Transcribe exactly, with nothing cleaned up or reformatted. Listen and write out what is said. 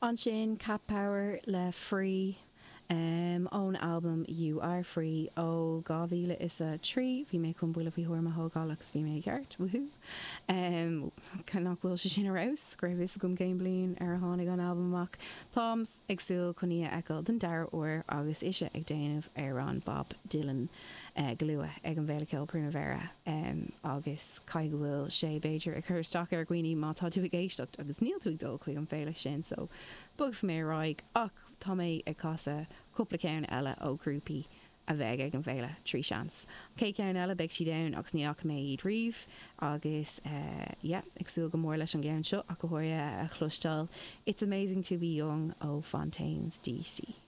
Ansin Cat Power le Free um, ón albam You Are Free ó dhá mhíle is a trí bhí mé chun buille faoi thuairim a thógáil agus bhí mé ceart woohoo. Um, nach bhfuil sé sin arís go raibh fhios agam cén bliain ar a tháinig an albam amach. Táim ag súil chun í a fheiceáil den dara huair agus ise ag déanamh ar an Bob Dylan uh, go luath ag an bhFéile Ceoil Primavera um, agus cai go bhfuil sé b'fhéidir ag cur isteach ar dhaoine má tá tú ag éisteacht agus níl tú ag dul chuig an féile sin so bogfaidh mé ar aghaidh ach tá mé ag casadh cúpla ceann eile ó grúpaí a bheidh ag an bhféile trí seans. Cé ceann eile beidh siad ann agus ní fhaca mé iad riamh agus uh, yeah, ag súil go mór leis an gceann seo ach go háirithe a chloisteáil. It's amazing to be young ó Fontaines DC.